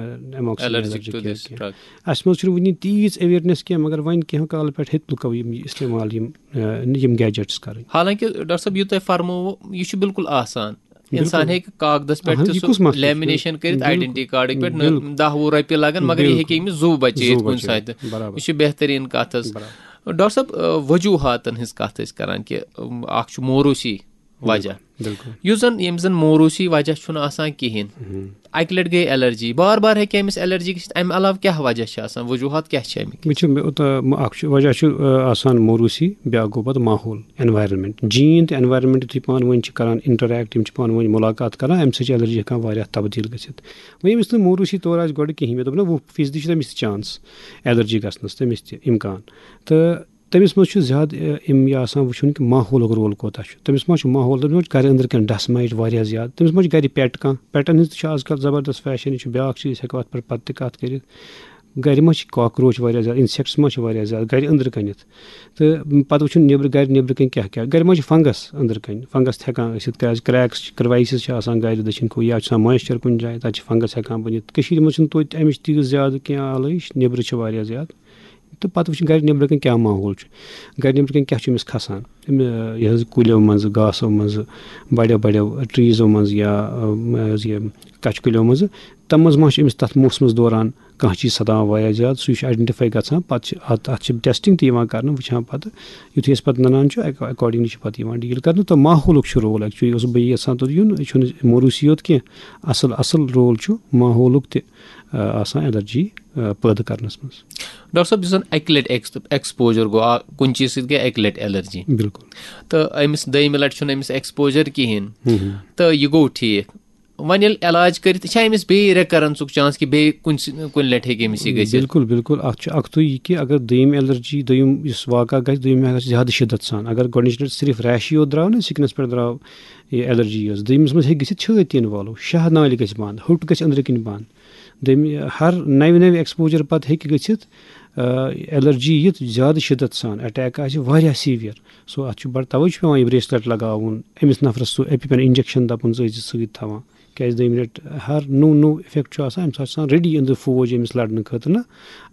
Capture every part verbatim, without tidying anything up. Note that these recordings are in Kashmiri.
amoxicillin allergic to کینٛہہ، this کینٛہہ۔ drug. اَسہِ منٛز چھُنہٕ وٕنہِ تیٖژ awareness کینٛہہ، مگر وۄنۍ کینٛہہ کالہٕ پٮ۪ٹھ ہیٚتۍ لُکو یِم یہِ استعمال، یِم، آ، یِم gadgets کَرٕنۍ۔ حالانکہ ڈاکٹر صٲب، یہِ تۄہہِ فرموو، یہِ چھُ بالکل آسان۔ انسان بالکل۔ ہیٚکہِ کاغذس پٮ۪ٹھ اہن، تہِ یہِ سُہ کُس مسلہٕ چھُ؟ lamination کٔرِتھ، بالکل۔ identity cardٕکۍ پٮ۪ٹھ نہ بالکل۔ دَہ وُہ رۄپیہِ لگن، مگر یہِ بالکل۔ ہیٚکہِ أمِس زُو بچٲیِتھ زُو کُنہِ بچٲیِتھ۔ ساتہٕ۔ برابر۔ یہِ چھِ بہتریٖن کتھ حظ۔ برابر۔ ڈاکٹر صٲب، آ، وجوہاتن ہنٛز کتھ ٲسۍ کران کہِ، ام، اکھ چھُ موروثی وجہ۔ بالکل۔ یُس زن، ییٚمہِ زن موروثی وجہ چھُنہٕ آسان کِہیٖنۍ۔ ہم۔ اکہِ لٹہِ گٔے allergy، بار بار ہیٚکہِ أمِس allergy گٔژھِتھ، امہِ علاوٕ کیٛاہ وجہ چھِ آسان، وجوہات کیٛاہ چھِ امیِکۍ؟ وٕچھِو، مےٚ اوٚت-، مےٚ اکھ چھُ، وجہ چھُ، آ، آسان موروثی، بیٛاکھ گوٚو پتہٕ ماحول، environment۔ gene تہٕ environment یُتھُے پانہٕ ؤنۍ چھِ کران interact، یِم چھِ پانہٕ ؤنۍ مُلاقات کران، امہِ سۭتۍ چھِ allergy ہٮ۪کان واریاہ تبدیٖل گٔژھِتھ۔ وۄنۍ ییٚمِس نہٕ موروثی طور آسہِ گۄڈٕ کِہیٖنۍ، مےٚ دوٚپ نہ، وُہ فیٖصدی چھِ تٔمِس تہِ chance allergy گژھنَس، تٔمِس تہِ امکان۔ تہٕ تٔمِس منٛز چھُ زیادٕ، آ، یِم یہِ آسان وٕچھُن کہِ ماحولُک role کوٗتاہ چھُ۔ تٔمِس ما چھُ ماحول، تٔمِس ما چھُ گرِ أنٛدرٕ کَنۍ dust mite واریاہ زیادٕ، تٔمِس ما چھُ گرِ pet کانٛہہ، petن ہٕنٛز تہِ چھِ آز کل زبردست fashion، یہِ چھُ بیٛاکھ چیٖز، ہٮ۪کو اَتھ پٮ۪ٹھ پتہٕ تہِ کَتھ کٔرِتھ۔ گرِ ما چھِ cockroach واریاہ زیادٕ، insects ما چھِ واریاہ زیادٕ گرِ أنٛدرٕ کَنٮ۪تھ؟ تہٕ پتہٕ وٕچھُن نیٚبرٕ، گرِ نیٚبرٕ کَنۍ کیٛاہ کیٛاہ، گرِ ما چھِ fungus أنٛدرٕ کَنۍ، fungus تہِ ہٮ۪کان ٲسِتھ، کیٛازِ cracks چھِ، crevices چھِ آسان گرِ دٔچھِنۍ کھوٚو، یا چھُ آسان moisture کُنہِ جایہِ، تَتہِ چھِ fungus ہٮ۪کان بٔنِتھ۔ کٔشیٖرِ منٛز چھُنہٕ توتہِ اَمِچ تیٖژ زیادٕ کینٛہہ آلٲیِش، نیٚبرٕ چھِ واریاہ زیادٕ۔ تہٕ پتہٕ وٕچھُن گرِ نیٚبرٕ کَنۍ کیٛاہ ماحول چھُ، گرِ نیٚبرٕ کَنۍ کیٛاہ چھُ أمِس کھسان، أمۍ، یہِ حظ کُلیو منٛزٕ، گاسو منٛزٕ، بَڑیو بَڑیو treesو منٛزٕ یا، آ، یہِ حظ یہِ کَچہِ کُلیو منٛزٕ، تَتھ منٛز ما چھُ أمِس تَتھ موسمَس دوران کانٛہہ چیٖز سَتاوان واریاہ زیادٕ، سُہ چھُ identify گژھان۔ پَتہٕ چھِ اَتھ، اَتھ چھِ testing تہِ یِوان کرنہٕ، وٕچھان پَتہٕ یُتھُے أسۍ پَتہٕ نَنان چھُ، اَکہِ، accordingly چھِ پَتہٕ یِوان deal کرنہٕ۔ تہٕ ماحولُک چھُ role actually، یہِ اوسُس بہٕ یَژھان توٚت یُن، یہِ چھُنہٕ موروثی یوت کینٛہہ، اَصٕل، اَصٕل role چھُ ماحولُک تہِ، آ، آسان allergy، آ، پٲدٕ کرنَس منٛز۔ ڈاکٹر صٲب، یُس زن اکہِ لٹہِ ایکس-، exposure گوٚو، آ، کُنہِ چیٖز سۭتۍ گٔے اکہِ لٹہِ allergy، بالکل۔ تہٕ أمِس دوٚیمہِ لٹہِ چھُنہٕ أمِس exposure کِہیٖنۍ، ہم۔ تہٕ یہِ گوٚو ٹھیٖک۔ وۄنۍ ییٚلہِ علاج کٔرِتھ، یہِ چھا أمِس بیٚیہِ recurrenceُک chance کہِ بیٚیہِ کُنہِ سۭ-، کُنہِ لٹہِ ہیٚکہِ أمِس یہِ گٔژھِتھ؟ بالکل، بالکل۔ اَتھ چھُ اَکھتُے یہِ کہِ اگر دوٚیِم allergy، دوٚیِم یُس واقعہ گژھِ، دوٚیِم گژھِ زیادٕ شِدت سان۔ اگر گۄڈٕنِچ لٹہِ صرف rashٕے یوت درٛاو نہ، skinس پٮ۪ٹھ درٛاو یہِ allergy یٲژ، دوٚیمِس منٛز ہیٚکہِ گٔژھِتھ چھٲتۍ تہِ involve، شاہ نالہِ گژھِ بنٛد، ہوٚٹ گژھِ أنٛدرٕ کِنۍ بنٛد۔ دوٚیمہِ ہر نَوِ نَوِ exposure پتہٕ ہیٚکہِ گٔژھِتھ، آ، allergy یِتھ زیادٕ شِدت سان، attack آسہِ واریاہ severe۔ So اَتھ چھُ بڑٕ، توے چھُ پٮ۪وان یہِ bracelet لگاوُن، أمِس نفرس سُہ EpiPen injection دَپُن زٕ ٲسۍ زِ سۭتۍ تھاوان۔ کیازِ دوٚیمہِ لٹہِ ہر نوٚو نوٚو effect چھُ آسان، أمِس آسہِ آسان ready أنٛدرٕ فوج أمِس لڑنہٕ خٲطرٕ نہ،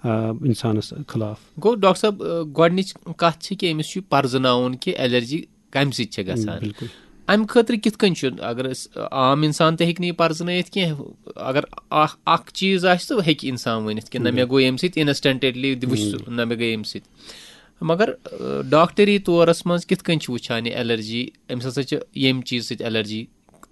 آ، اِنسانس خلاف۔ گوٚو ڈاکٹر صٲب، آ، گۄڈٕنِچ کتھ چھِ کہِ أمِس چھُ پرزٕناوُن کہِ allergy کمہِ سۭتۍ چھِ گژھان۔ بالکل۔ امہِ خٲطرٕ کِتھ کٔنۍ چھُ، اگر أسۍ، آ، عام انسان تہِ ہیٚکہِ نہٕ یہِ پرزٕنٲیِتھ کینٛہہ، اگر اکھ، اکھ چیٖز آسہِ تہٕ ہیٚکہِ انسان ؤنِتھ کہِ نہ مےٚ گوٚو ییٚمہِ سۭتۍ، instantly وٕچھ سُہ، نہ مےٚ گٔے ییٚمہِ سۭتۍ۔ مگر، آ، ڈاکٹری طورس منٛز کِتھ کٔنۍ چھِ وٕچھان یہِ allergy؟ أمِس ہسا چھِ ییٚمہِ چیٖزٕ سۭتۍ allergy،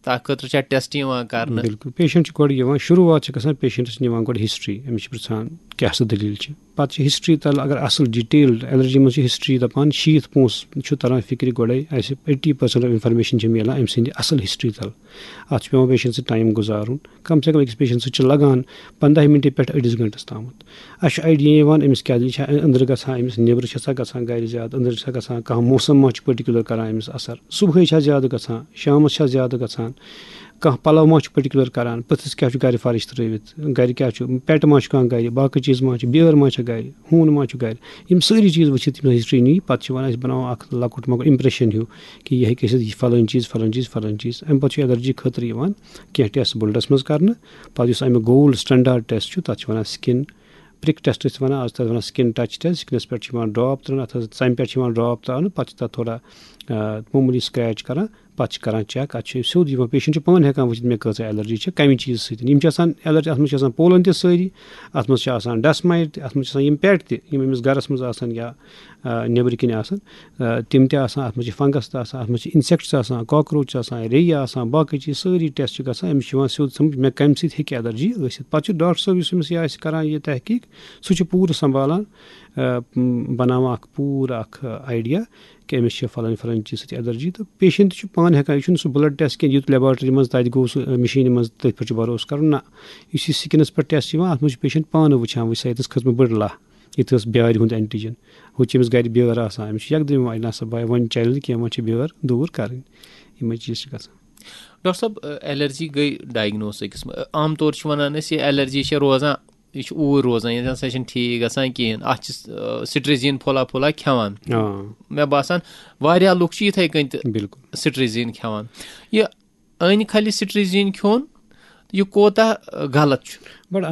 تتھ خٲطرٕ چھا test یِوان کرنہٕ؟ بالکل، patient چھُ گۄڈٕ یِوان، شروٗعات چھِ گژھان patientس نِوان گۄڈٕ history، أمِس چھِ پرژھان کیٛاہ سا دٔلیٖل چھِ۔ پتہٕ چھِ history تل، اگر اصل detailed allergy منٛز چھِ history دپان، شیٖتھ پونٛسہٕ چھُ تران فکرِ گۄڈے، اسہِ eighty percent of information چھِ میلان أمۍ سٕنٛدِ اصل history تل۔ اتھ چھُ پٮ۪وان patientس سۭتۍ time گُزارُن، کم سے کم أکِس patientس سۭتۍ چھِ لگان پنٛداہ مِنٹہِ پٮ۪ٹھ أڑِس گنٹس تامتھ۔ اسہِ چھُ idea یِوان أمِس کیٛاہ دٔلیٖل چھِ، أنٛدرٕ گژھان أمِس، نیٚبرٕ چھِ سا گژھان گرِ زیادٕ، أنٛدرٕ چھِ سا گژھان، کانٛہہ موسم ما چھُ particular کران أمِس اثر، صبحٲے چھا زیادٕ گژھان، شامس چھا زیادٕ گژھان، کانٛہہ پلو ما چھُ particular کران، پٔژھِس کیٛاہ چھُ گرِ فرٕش ترٲوِتھ، گرِ کیٛاہ چھُ، pet ما چھُ کانٛہہ گرِ، باقٕے چیٖز ما چھِ، بیٲر ما چھِ گرِ، ہوٗن ما چھُ گرِ۔ یِم سٲری چیٖز وٕچھِتھ یِم history نی، پتہٕ چھِ وَنان، أسۍ بناوو اکھ لۄکُٹ مۄکُٹ impression ہیوٗ کہِ یہِ ہیٚکہِ ٲسِتھ یہِ فلٲنۍ چیٖز، فلٲنۍ چیٖز، فلٲنۍ چیٖز۔ اَمہِ پتہٕ چھُ allergy خٲطرٕ یِوان کینٛہہ test bloodس منٛز کرنہٕ۔ پتہٕ یُس اَمیُک gold standard test چھُ، تَتھ چھِ وَنان skin prick test، چھِ وَنان، آز چھِ تَتھ وَنان skin touch test، skinس پٮ۪ٹھ چھِ یِوان drop ترٛاونہٕ، اَتھ حظ ژَمہِ پٮ۪ٹھ چھِ یِوان drop ترٛاونہٕ، پَتہٕ چھِ تَتھ تھوڑا، آ، معموٗلی scratch کران، پَتہٕ چھِ کران check، اَتھ چھُ سیوٚد یِوان، patient چھُ پانہٕ ہٮ۪کان وٕچھِتھ مےٚ کۭژاہ allergy چھِ، کَمہِ چیٖزٕ سۭتۍ۔ یِم چھِ آسان allergy، اَتھ منٛز چھِ آسان pollen تہِ سٲری، اَتھ منٛز چھِ آسان dust mite تہِ، اَتھ منٛز چھِ آسان یِم pet تہِ، یِم أمِس گَرَس منٛز آسَن یا، آ، نیٚبرٕ کِنۍ آسَن، آ، تِم تہِ آسان، اَتھ منٛز چھِ fungus تہِ آسان، اَتھ منٛز چھِ insects آسان، cockroach آسان، ریٚیہِ آسان، باقٕے چیٖز سٲری test چھِ گژھان، أمِس چھُ یِوان سیوٚد سَمجھ مےٚ کَمہِ سۭتۍ ہیٚکہِ allergy ٲسِتھ۔ پَتہٕ چھُ ڈاکٹر صٲب یُس أمِس یہِ آسہِ کران یہِ تحقیٖق، سُہ چھُ پوٗرٕ سنبھالان، آ، م، بناوان اکھ پوٗرٕ اکھ، آ، idea کہِ أمِس چھِ فلٲنۍ فلٲنۍ چیٖز سۭتۍ allergy، تہٕ patient چھُ پانہٕ ہٮ۪کان، یہِ چھُنہٕ سُہ blood test کینٛہہ، یُتھ laboratory منٛز تَتہِ گوٚو سُہ، آ، مِشیٖنہِ منٛز تٔتھۍ پٮ۪ٹھ چھُ بھروسہٕ کرُن، نہ، یُس یہِ skinس پٮ۪ٹھ test چھُ یِوان، اَتھ منٛز چھُ patient پانہٕ وٕچھان، وٕچھ سا ییٚتٮ۪س کھٔژ مےٚ بٔڑ لَہہ، ییٚتہِ ٲس بیٛارِ ہُنٛد antigen، ہُتہِ چھِ أمِس گرِ بیٛٲر آسان، أمِس چھُ یکدم یِوان، نہ سا بھایا، وۄنۍ چلہِ نہٕ کینٛہہ، وۄنۍ چھِ بیٛٲر دوٗر کرٕنۍ، یِمے چیٖز چھِ گژھان۔ ڈاکٹر صٲب، allergy گٔے diagnose أکِس منٛز، عام طور چھِ وَنان أسۍ یہِ allergy چھےٚ روزان، یہِ چھُ اوٗرۍ روزان، یہِ نَسا چھِنہٕ ٹھیٖک گژھان کِہیٖنۍ، اَتھ چھِ، آ، cetirizine پھولا پھولا کھٮ۪وان۔ آ۔ مےٚ باسان واریاہ لُکھ چھِ یِتھَے کٔنۍ تہِ بالکل۔ cetirizine کھٮ۪وان۔ یہِ أنۍ کھَلہِ cetirizine کھیوٚن، یہِ کوتاہ، آ، غلط چھُ؟ بڑٕ